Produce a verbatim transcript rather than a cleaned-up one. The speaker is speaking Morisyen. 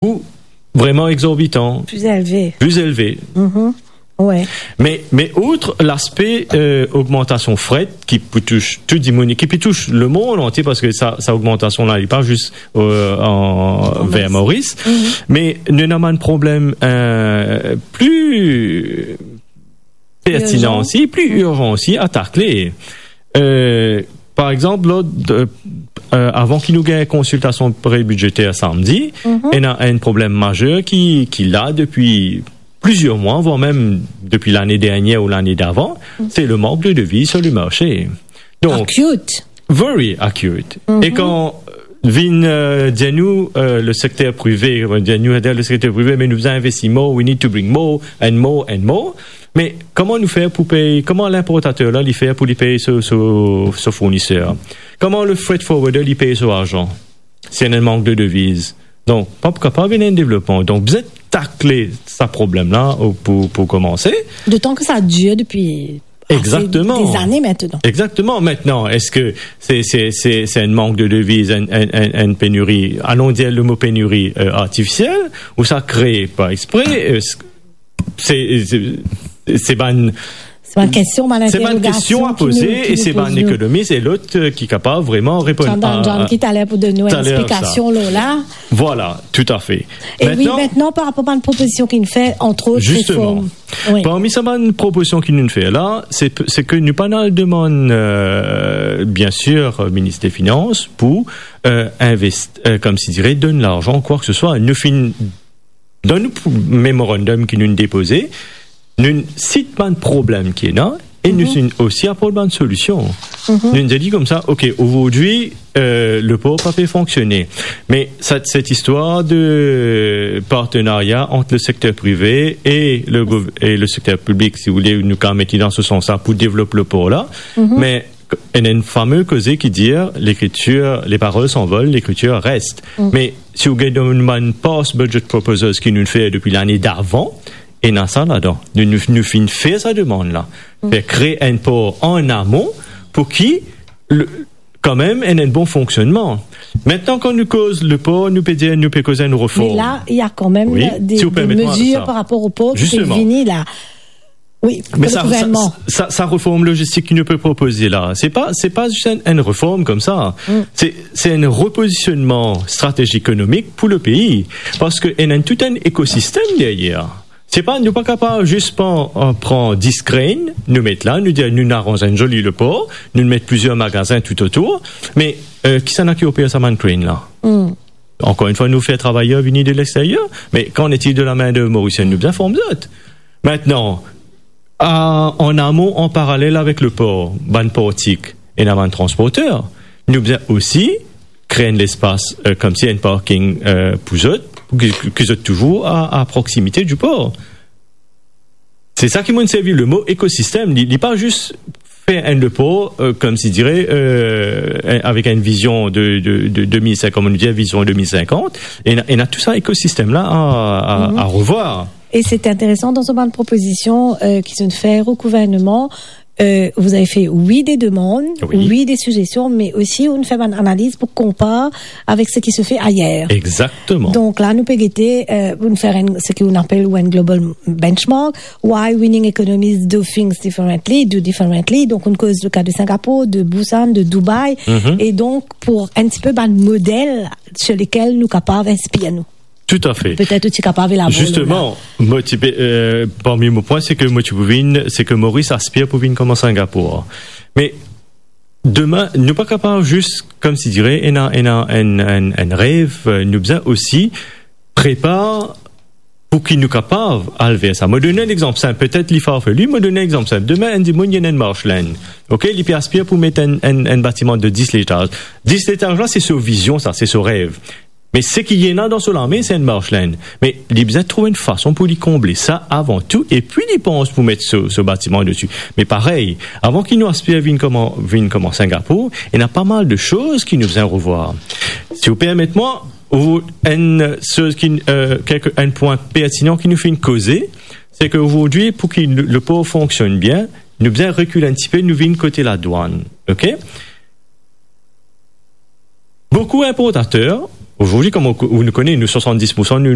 kou vreman egzorbitan, Pli elve. Pli elve. Mhm. Wi. Me, me outre laspe, euh, ogmantasion fret ki pou tous tou dimoun, ki pou tous lemond antie, parski sa, sa ogmantasion la, li pa zis, euh, an, An ver Maurice. Maurice. Mhm. Me nou ena bann problem, euh, pli pertinan Irzan. Osi, pli irzan osi a takle. Euh, par exanp, lor, euh, euh, avan ki nou gagn konsiltasion pre-bidzeter samdi, Mhm. ena enn problem mazer ki, ki la depi plizier mwa, voire mem depi lane dernier ou lane davan, Mhm. se le mank de deviz sur le marse. Donk, Acute. Very acute. Mhm. E kan, euh, vinn, euh, dir nou, euh, le sekter prive, euh, dir nou, dir le sekter prive, me nou bizin investi more, we need to bring more and more and more. Me kouma nou fer pou pey, kouma linportater la, li fer pou li pey so, so, so fourniser? Kouma le freight forwarder, li pey so larzan? Si ena mank de deviz. Donk, pa pou kapav vinn enn devlopman. Donk, bizin takle sa problem la, ou pou, pou koumanse. Dotan ki sa dir depi ase Exactement. Des années maintenant. Exactement. Maintenant, eski se, se, se, se enn mank de deviz, enn, enn, enn, enn peniri, alon dir le mo peniri, euh, artifisiel, ou sa kree par expre, euh, se, se, se bann, Se bann kestion, bann se bann kestion a interrogasion ki poze nou, ki e nou se bann poz nou. Ekonomis e lot, euh, ki kapav vreman reponn John Dan a, John a, ki taler pou donn nou taler sa. Explikasion lor la. Voilà, toutafe. E wi, Maintenant, mintnan, par rapor bann propozision ki nou fer, antrot, Justement. Reform. Wi. Parmi sa bann propozision ki nou fer la, se, se ke nou pa'nn al demann, euh, biensir, euh, minis de finans pou, euh, invest-, euh, koumsi dire, donn larzan, kwa ki se swa. Nou finn, dan nou pou-, memorandum ki nou depoze, nou sit bann problem ki ena, e nou, mhm, finn osi aport bann solision. Mhm. Nou dir li koumsa, ok, azordi, euh, le por pa pe fonksione. Me sa, set istwar de partenaria ant le sekter prive e le gouv-, e le sekter piblik, si ou le, nou kapav met li dan se sans la pou devlop le por la. Mhm. Me ena enn fame koze ki dir, lekritir, les paroles s'envolent, l'écriture reste. Mm. Me si ou gagn dan bann past budget proposals ki nou fer depi lane davan, ena sa ladan. Nou, nou, nou finn fer sa demann la. Mm. Fer kree enn por an amon pou ki le, kanmem, ena enn bon fonksionnman. Mintnan, kan nou koz le por, nou pe dir, nou pe koz enn reform. Me la, il y a quand même, wi, des, si ou permet mwa, mezir sa, par rapor o por ki pe, jisteman, vini la. Wi, me le sa, gouvernman. Sa, sa, sa reform lozistik ki nou pe propoze la, se pa, se pa zis enn, enn reform koumsa. Mm. Se, se enn repozisionman stratezik ekonomik pou le pei. Parski ena enn, tout enn ekosistem deryer. Se pa, nou pa kapav zis pran, euh, pran dis crane, nou met la, nou dir, nou aranz enn zoli le por, nou met plizier magazin toutotour, me, euh, kisannla ki oper sa bann crane la? Mm. Ankor enn fwa, nou fer travayer vini de lexteryer, me qu'en est-il de la main d'œuvre mauricienne? Nou bizin form zot. Mintnan, a, an amon, an paralel avek le por, bann portik, ena bann transporter. Nou bizin osi kree enn lespas, euh, koumsi enn parking, euh, pou zot, pou ki, ki zot touzour a, a proksimite di por. Se sa ki mo'nn servi le mo ekosistem. Li, li pa zis fer enn le por, euh, koumsi dire, euh, avek enn vizion de, de, de deux mille cinquante, kouma nou dir, vizion deux mille cinquante, ena, ena tou sa ekosistem la a, a, mhm, a revwar. Et c'est intéressant, dans so bann propozision, euh, ki zot fer o gouvernman, euh, vous avez fait, oui, des demandes, oui, oui, des suggestions, mais aussi ou fer bann analiz pou konpar avek seki se fer ayer. Exactement. Donk la, nou pe gete, euh, pou nou fer enn, seki nou apel ou enn global benchmark, why winning economies do things differently, do differently. Donk, nou koz le ka de Singapour, de Busan, de Dubai. Mhm. E donk, pou enn tipe bann model sur lesquels nou kapav inspir nou. Toutafe. Petet ou ti kapav elabor lor la. Jisteman, mo ti pe, euh, parmi mo pwin, se ke mo ti pou vinn, se ke Moris aspir pou vinn kouma Singapour. Me demin, nou pa kapav zis, koumsi dire, ena, ena enn, enn, enn rev, euh, nou bizin osi prepar pou ki nou kapav al ver sa. Mo donn enn lexanp sinp, petet li farfelu, mo donn enn lexanp sinp. Demin, enn dimoun, li ena enn marsh land. Ok, li pe aspir pou met enn, enn, enn batiman de dis letaz. Dis letaz la, se so vizion sa, se so rev. Me seki ena dan so lame, se enn marsh land. Me li bizin trouv enn fason pou li konble sa avan tou, epi li pans pou met so, so batiman desi. Me parey, avan ki nou aspir vinn kouma, vinn kouma Singapour, ena pa mal de soz ki nou bizin revwar. Si ou permet mwa, ou, enn soz ki, euh, kelke, enn pwin pertinan ki nou finn koze, se ke azordi, pou ki le, le por fonksionn bien, nou bizin rekil enn tipe, nou vinn kote ladwann, ok? Boukou inportater, Aujourd'hui, comme on, on nous connaît, nous, soixante-dix pour cent, nous,